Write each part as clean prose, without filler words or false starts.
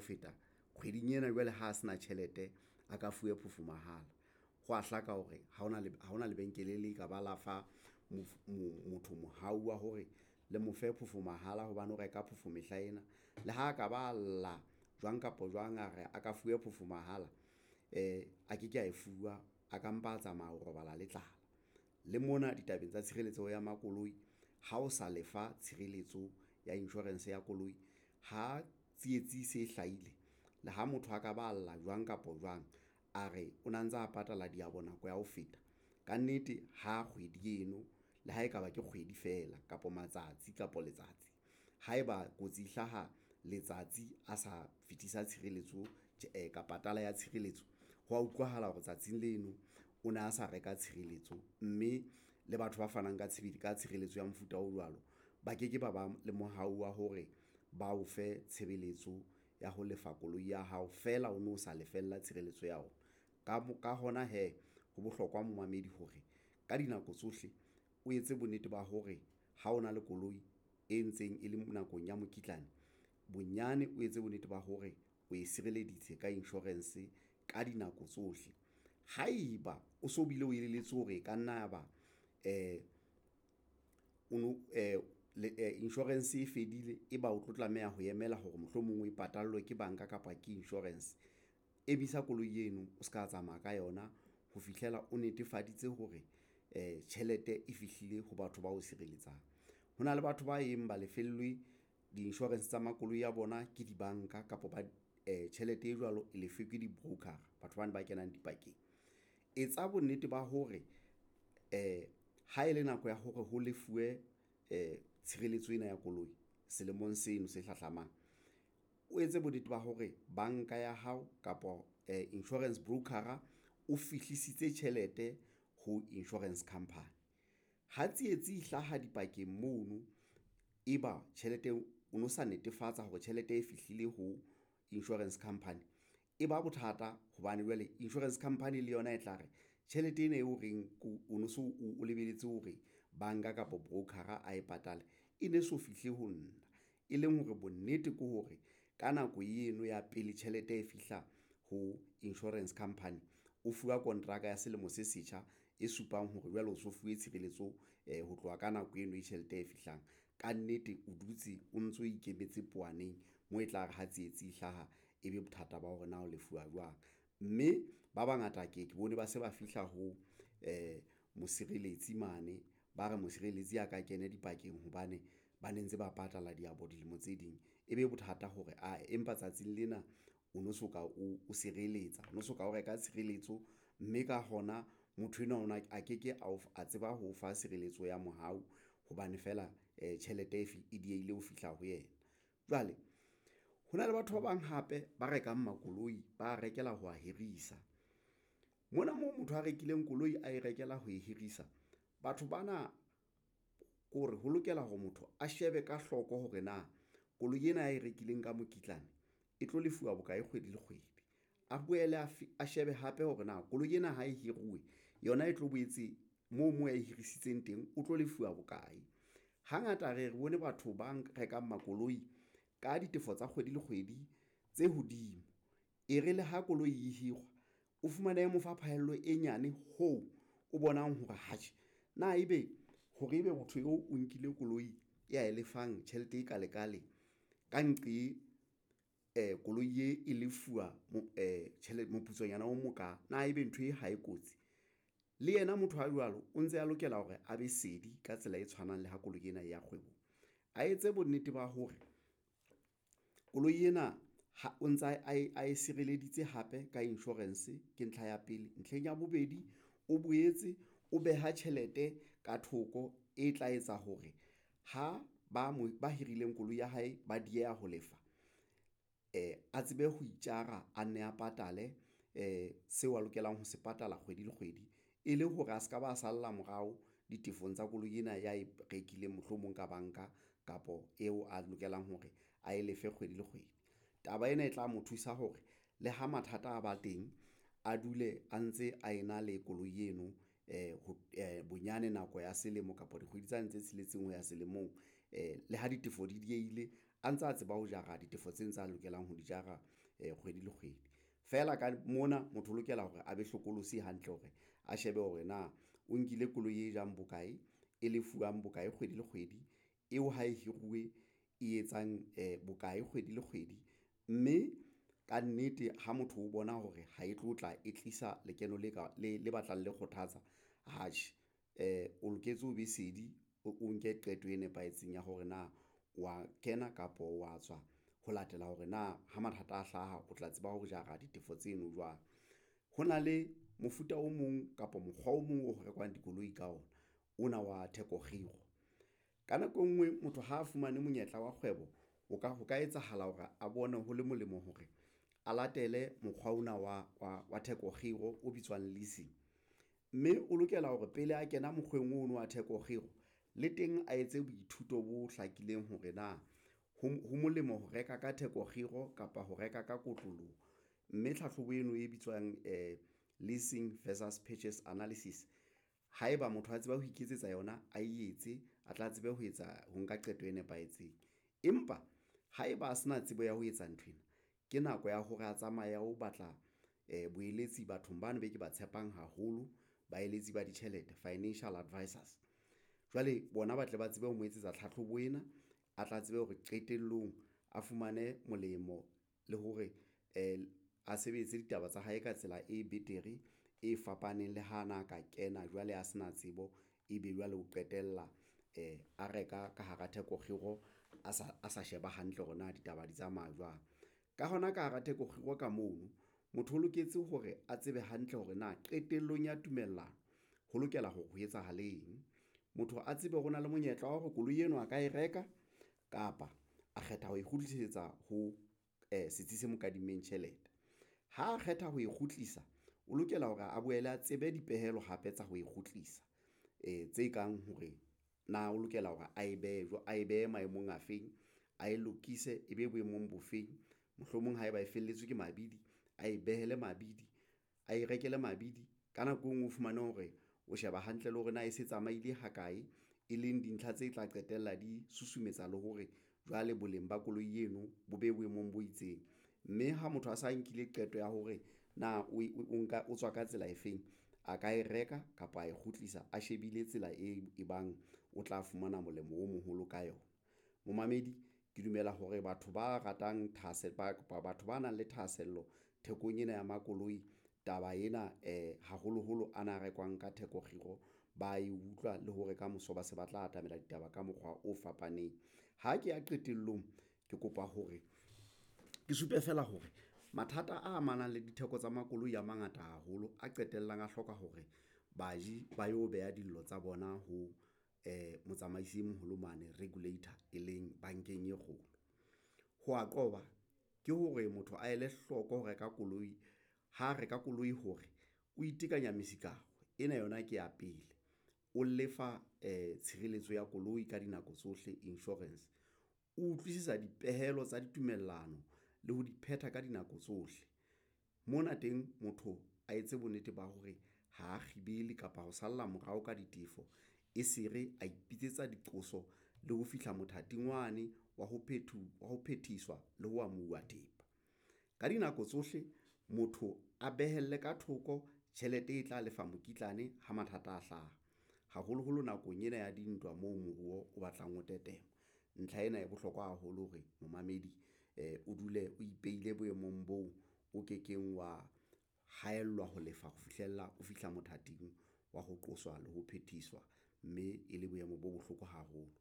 feta kgweding ena jwale ha a se na tjhelete, a ka fuwe phofo mahala. Ho a hlaka hore ha hona lebenkele le ka ba la fa motho mohau wa hore le mo fe phofo mahala hobane o reka phofo mehlaena. Le ha ka ba lla jwang kapa jwang, a re a ka fuwe phofo mahala, a ke ke a e fuwa, a ka mpa a tsamaya ho robala le tlala. Le mona ditabeng tsa tshireletseho ya makoloi, ha o sa lefa tshireletso ya insurance ya koloi ha tsietsi e se e hlahile le ha motho a ka ba lla jwang kapa jwang, a re o na ntsa patala diabo nako ya ho feta kannete, ha kgwedi eno le ha ekaba ke kgwedi feela kapa matsatsi kapa letsatsi. Haeba kotsi e hlaha letsatsi a sa fetisa tshireletso kapa patala ya tshireletso, hwa utlwahala hore tsatsing leno o ne a sa reka tshireletso, mme le batho ba fanang ka tshireletso ya mofuta o jwalo, ba ke ke ba ba le mohau wa hore ba o fe tshebeletso ya ho lefa koloi ya hao feela o no sa lefella tshireletso ya ona. Ka hona hee, ho bohlokwa momamedi hore ka dinako tsohle o etse bonnete ba hore ha o na le koloi e ntseng e le nakong ya mokitlane, bonyane o etse bonnete ba hore o e sireleditse ka insurance ka dinako tsohle. Haeba o so bile o elelletswe hore e ka nna ya ba insurance e fedile, e ba o tlo tlameha ho emela hore mohlomong o e patallwe ke banka kapa ke insurance. Emisa koloi eno o ska tsamaya ka yona ho fihlela o netefaditse hore tjhelete e fihlile ho batho bao sireletsang. Ho na le batho ba yeng ba lefellwe di-insurance tsa makoloi a bona ke dibanka kapa ba tjhelete e jwalo e lefe ke di-broker-a batho bana ba kenang dipakeng. Etsa bonnete ba hore ha ele nako ya hore ho lefuwe tshireletso ena ya koloi selemong seno se hlahlamang, o etse bonnete ba hore banka ya hao kapa insurance broker-a o fihlisitse tjhelete ho insurance company. Ha tsietsi e hlaha dipakeng mono, eba tjhelete eo o no sa netefatsa hore tjhelete e fihlile ho insurance company, e ba bothata hobane jwale insurance company le yona e tla re tjhelete ena eo o reng o no so o lebelletse hore banka kapa broker-a ae patale e ne so fihle ho nna, e leng hore bonnete ke hore ka nako eno ya pele tjhelete e fihla ho insurance company, o fuwa kontraka ya selemo se setjha e supang hore jwale o so fuwe tshireletso ho tloha ka nako eno e tjhelete e fihlang kannete, o dutse o ntso ikemetse powaneng moo e tlare ha tsietsi e hlaha, ebe bothata ba hore na o lefuwa jwang, mme ba bangata ke ye ke bone ba se ba fihla ho mosireletsi mane, ba re mosireletsi a ka kena dipakeng hobane ba ne ntse ba patala diabo dilemo tse ding, ebe bothata hore ae empa tsatsing lena o no soka o sireletsa, o no soka o reka tshireletso, mme ka hona motho enwa ona a ke ke a tseba ho o fa tshireletso ya mohau hobane feela tjhelete e diehile ho fihla ho yena. Jwale ho na le batho ba bang hape ba rekang makoloi, ba rekela ho wa hirisa mona moo motho a rekileng koloi ae rekela ho e hirisa. Batho bana ke hore ho lokela hore motho a shebe ka hloko hore na koloi ena e rekileng ka mokitlane e tlo lefuwa bokae kgwedi le kgwedi, a boele a shebe hape hore na koloi ena ha e hiruwe yona e tlo boetse moo a e hirisitseng teng, o tlo lefuwa bokae. Hangata re ye re bone batho ba rekang makoloi ka ditefo tsa kgwedi le kgwedi tse hodimo, e re le ha koloi e hirwa, o fumane mo fa phahello e nyane hoo o bonang hore atjhe na ebe hore ebe motho eo o nkile koloi ya e lefang tjhelete e kalekale ka nqe koloi e lefuwa tjhelete moputsonyana o moka na ebe ntho e ha e kotsi le yena motho a jwalo o ntse a lokela hore a be sedi ka tsela e tshwanang le ha koloi ena ya kgwebong, a etse bonnete ba hore koloi ena ha o ntsa a e sireleditse hape ka insurance ke ntlha ya pele. Ntlheng ya bobedi, o boetse o beha tjhelete ka thoko e tla etsa hore ha ba mo ba hirileng koloi ya hae, ba dieha ho lefa a tsebe ho itjara, a nne a patale seo a lokelang ho se patala kgwedi le kgwedi, e le hore a se ka ba salla morao ditefong tsa koloi ena ya e rekileng mohlomong ka banka kapo eo a lokelang hore ae lefe kgwedi le kgwedi. Taba ena e tla mo thusa hore le ha mathata a ba teng, a dule a ntse a ena le koloi eno ho bonyane nako ya selemo kapa dikgwedi tsane tse tsheletseng ho ya selemong le ha ditefo di diehile. a ntsa tseba ho jara ditefo tse ntse a lokelang ho di jara kgwedi le kgwedi. Feela ka mona motho o lokela hore a be hlokolosi hantle hore a shebe hore na o nkile koloi e jang bokae, e lefuwang bokae kgwedi le kgwedi, eo ha e hiruwe e etsang bokae kgwedi le kgwedi, mme kannete ha motho o bona hore ha e tlo tla e tlisa lekeno le batlang le kgothatsa, atjhe o loketse o be sedi, o nke qeto e nepahetseng ya hore na wa kena kapa wa tswa ho latela hore na ha mathata a hlaha, o tla tseba ho jara ditefo tseno jwang. Ho na le mofuta o mong kapa mokgwa o mong o rekwang dikoloi ka ona, ona wa theko kgiro. Ka nako e ngwe motho ha a fumane monyetla wa kgwebo, ho ka etsahala hore a bone ho le molemo hore a latele mokgwa ona wa theko kgiro o bitswang leasing, mme o lokela hore pele a kena mokgweng ono wa theko kgiro le teng a etse boithuto bo hlakileng hore na ho molemo ho reka ka theko kgiro kapa ho reka ka kotloloho, mme tlhahlobo eno e bitswang leasing versus purchase analysis, haeba motho a tseba ho iketsetsa yona, a etse a tla tsebe ho etsa ho nka qeto e nepahetseng. Empa haeba a se na tsebo ya ho etsa nthwena, ke nako ya hore a tsamaye a o batla boeletsi bathong bano be ke ba tshepang haholo, baeletsi ba ditjhelete, financial advisors. Jwale bona ba tle ba tsebe ho mo etsetsa tlhatlhobo ena, a tla tsebe hore qetellong a fumane molemo le hore a sebetse ditaba tsa hae ka tsela e betere, e fapaneng le ha na ka kena jwale a se na tsebo, ebe jwale o qetella a reka ka hara theko kgiro a sa sheba hantle hore na ditaba di tsamaya jwang. Ka hona ka hara theko kgiro ka mono, motho o loketse hore a tsebe hantle hore na qetellong ya tumellano ho lokela hore ho etsahale eng, motho a tsebe hore o na le monyetla wa hore koloi eno a ka e reka kapa a kgetha ho e kgutlisetsa ho setsi se mo kadimmeng tjhelete. Ha a kgetha ho e kgutlisa, o lokela hore a boele a tsebe dipehelo hape tsa ho e kgutlisa tse kang hore na o lokela hore a e behe maemong a feng, a e lokise e be boemong bo feng, mohlomong haeba e felletswe ke mabidi, a e behele mabidi, a e rekele mabidi. Ka nako e ngwe o fumane hore o sheba hantle le hore na e se tsamaile ha kae, e leng dintlha tse tla qetella di susumetsa le hore jwale boleng ba koloi eno bo be boemong bo itseng, mme ha motho a sa nkile qeto ya hore na o tswa ka tsela efeng, a ka e reka kapa a e kgutlisa a shebile tsela e bang o tla fumana molemo o moholo ka yona. Momamedi ke dumela hore batho ba ratang kapa batho ba nang le thahasello thekong ena ya makoloi, taba ena haholoholo ana a rekwang ka theko kgiro, ba e utlwa le hore kamoso ba se ba tla atamela ditaba ka mokgwa o fapaneng. Ha ke ya qetellong, ke kopa hore ke supe feela hore mathata a amanang le ditheko tsa makoloi a mangata haholo, a qetellang a hloka hore baji ba yo beha dillo tsa bona ho motsamaisi e moholo mane regulator, e leng bankeng e kgolo. Ho a qoba ke hore motho a ele hloko ho reka koloi, ha reka koloi hore o itekanya mesikaro ena yona ke ya pele, o lefa tshireletso ya koloi ka dinako tsohle insurance, o utlwisisa dipehelo tsa ditumellano le ho di phetha ka dinako tsohle. Mona teng motho a etse bonnete ba hore ha kgibele kapa ho salla morao ka ditefo, e se re a ipitsetsa diqoso le ho fihla mothating wane wa ho phethiswa le ho amuwa thepa. Ka dinako tsohle motho a behele ka thoko tjhelete e tla lefa mokitlane ha mathata a hlaha, haholoholo nakong ena ya dintwa moo moruo o batlang o tetema. Ntlha ena e bohlokwa haholo hore momamedi o dule o ipehile boemong boo o ke keng wa haellwa ho lefa ho fihlella o fihla mothating wa ho qoswa le ho phethiswa, mme e le boemo bo bohloko haholo,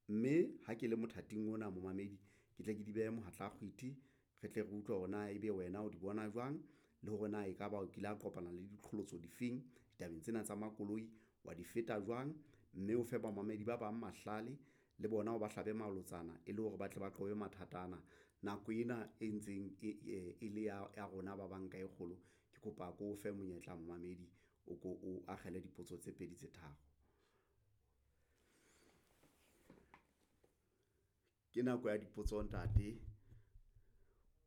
mme ha ke le mothating ona momamedi, ke tle ke di behe mohatla kgwiti, re tle re utlwe hore na ebe wena o di bona jwang, le hore na ekaba o kile wa kopana le diqholotso difeng ditabeng tsena tsa makoloi, wa di feta jwang, mme o fe bamamedi ba bang mahlale le bona o ba hlabe malotsana e le hore ba tle ba qobe mathata ana. Nako ena e ntseng e le ya rona ba banka e kgolo, ke kopa ke o fe monyetla momamedi o ko o akgele dipotso tse pedi tse tharo. Ke nako ya dipotso ntate,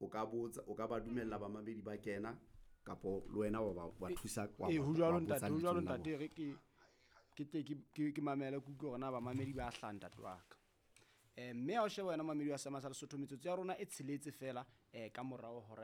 o ka botsa, o ka ba dumella bamamedi ba kena kapo le wena wa ba thusa wa Ee, ho jwalo wa botsa ntate, ho jwalo lebitsong la ntate, bona. E re ke tle ke mamele, ke utlwe hore na bamamedi ba hlaha ntate wa ka. Mme ha o sheba wena mamedi wa Seema sa Lesotho, metsotso ya rona e tsheletse fela ka morao hora.